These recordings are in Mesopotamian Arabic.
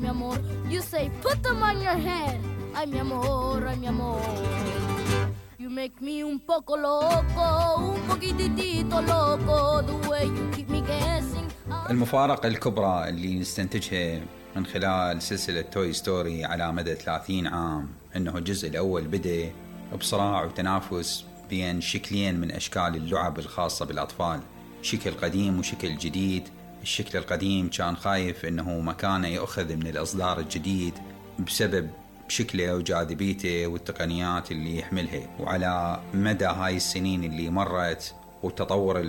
mi amor. You say put them on your head. Ay mi amor. You make me un poco loco, un poquitito loco. The way you keep me guessing. المفارقة الكبرى اللي نستنتجها من خلال سلسلة توي ستوري على مدى 30 عام انه الجزء الاول بدأ بصراع وتنافس بين شكلين من اشكال اللعب الخاصة بالاطفال، شكل قديم وشكل جديد. الشكل القديم كان خايف انه مكانه يأخذ من الاصدار الجديد بسبب شكله وجاذبيته والتقنيات اللي يحملها. وعلى مدى هاي السنين اللي مرت وتطور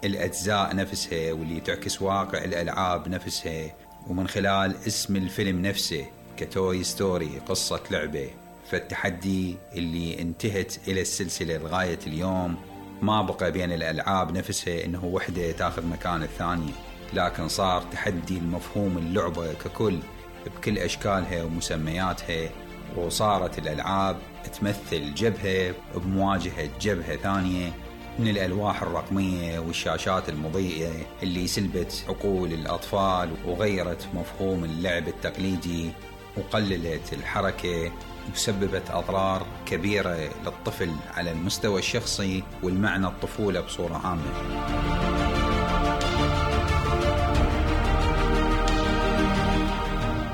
الأجزاء نفسها واللي تعكس واقع الألعاب نفسها، ومن خلال اسم الفيلم نفسه كتوي ستوري قصة لعبة، فالتحدي اللي انتهت إلى السلسلة لغاية اليوم ما بقى بين الألعاب نفسها إنه وحدة تاخذ مكان الثانية، لكن صار تحدي المفهوم اللعبة ككل بكل أشكالها ومسمياتها. وصارت الألعاب تمثل جبهة بمواجهة جبهة ثانية من الألواح الرقمية والشاشات المضيئة اللي سلبت عقول الأطفال وغيرت مفهوم اللعب التقليدي وقللت الحركة وسببت أضرار كبيرة للطفل على المستوى الشخصي والمعنى الطفولة بصورة عامة.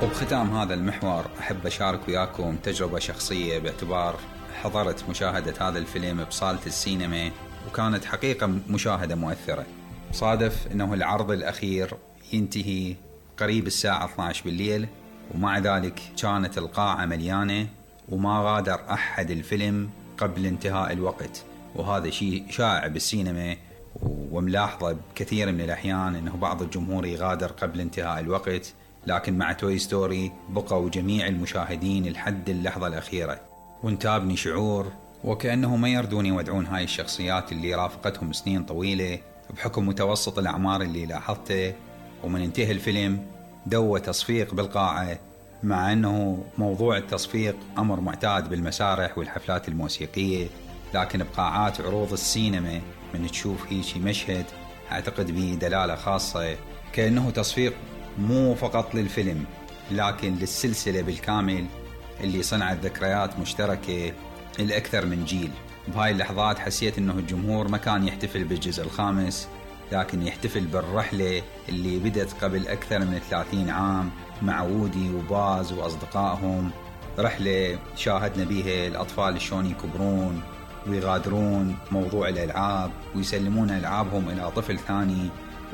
وبختام هذا المحور أحب أشارك وياكم تجربة شخصية، باعتبار حضرت مشاهدة هذا الفيلم بصالة السينما وكانت حقيقة مشاهدة مؤثرة. صادف أنه العرض الأخير ينتهي قريب الساعة 12 بالليل، ومع ذلك كانت القاعة مليانة وما غادر أحد الفيلم قبل انتهاء الوقت. وهذا شيء شائع بالسينما وملاحظة بكثير من الأحيان أنه بعض الجمهور يغادر قبل انتهاء الوقت، لكن مع توي ستوري بقوا جميع المشاهدين لحد اللحظة الأخيرة. وانتابني شعور وكأنه ما يردون يودعون هاي الشخصيات اللي رافقتهم سنين طويلة بحكم متوسط الأعمار اللي لاحظته. ومن انتهى الفيلم دوى تصفيق بالقاعة، مع أنه موضوع التصفيق أمر معتاد بالمسارح والحفلات الموسيقية، لكن بقاعات عروض السينما من تشوف هيك مشهد أعتقد به دلالة خاصة، كأنه تصفيق مو فقط للفيلم لكن للسلسلة بالكامل اللي صنعت ذكريات مشتركة الأكثر من جيل. بهاي اللحظات حسيت أنه الجمهور ما كان يحتفل بالجزء الخامس، لكن يحتفل بالرحلة اللي بدت قبل أكثر من 30 عام مع وودي وباز وأصدقائهم. رحلة شاهدنا بيها الأطفال شلون يكبرون ويغادرون موضوع الألعاب ويسلمون ألعابهم إلى طفل ثاني،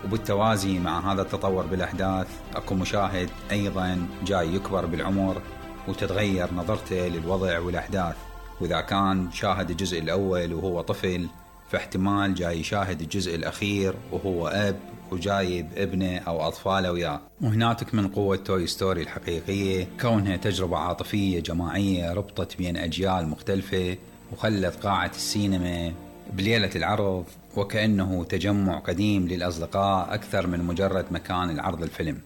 وبالتوازي مع هذا التطور بالأحداث أكو مشاهد أيضا جاي يكبر بالعمر وتتغير نظرته للوضع والأحداث. وإذا كان شاهد الجزء الأول وهو طفل، فاحتمال جاي يشاهد الجزء الأخير وهو أب وجايب ابنه أو أطفاله وياه. وهنا تكمن قوة توي ستوري الحقيقية، كونها تجربة عاطفية جماعية ربطت بين أجيال مختلفة وخلت قاعة السينما بليلة العرض وكأنه تجمع قديم للأصدقاء أكثر من مجرد مكان العرض الفيلم.